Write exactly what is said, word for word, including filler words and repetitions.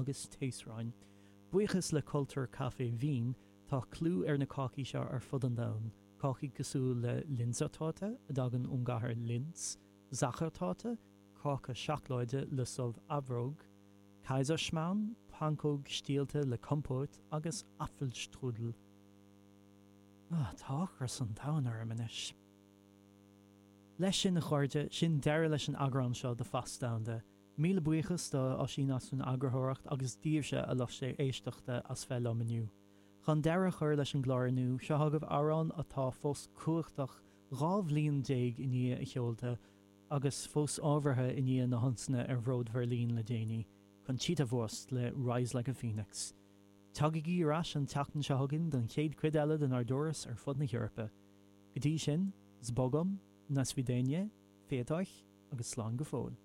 agus taosráin. Buíochas le Cultúr Caife Vín tá clú ar na cácaí seo ar fud an domhain, cácaí cosúil le Linzertorte a dtagann ón gcathair Linz, Sachertorte, cáca seacláide le subh aibreog, Kaiserschmarrn, pancóg stiallta le compót agus Apfelstrudel. Ah, tá ocras an domhain orm anois. Leis sin a chairde sin deireadh leis an eagrán seo de Phas Domhanda. Míle buíochas do Oisín as an eagarthóireacht agus daoibhse a lucht éisteachta as bheith liom inniu. Chun deireadh a chur leis an gclár inniu seo agaibh amhrán atá fós cumhachtach dhá bhliain déag i ndiaidh a sheolta agus fós ábhartha i ndiaidh na hionsaithe ar Bhruth Bheirlín le déanaí, Conchita Wurst le Rise Like a Phoenix. Tagaigí ar ais an tseachtain seo chugainn don chéad chuid eile den ár dturas ar fud na hEorpa. Go dtí sin, Zbogom, na svidanie, féadach agus slán go fóill.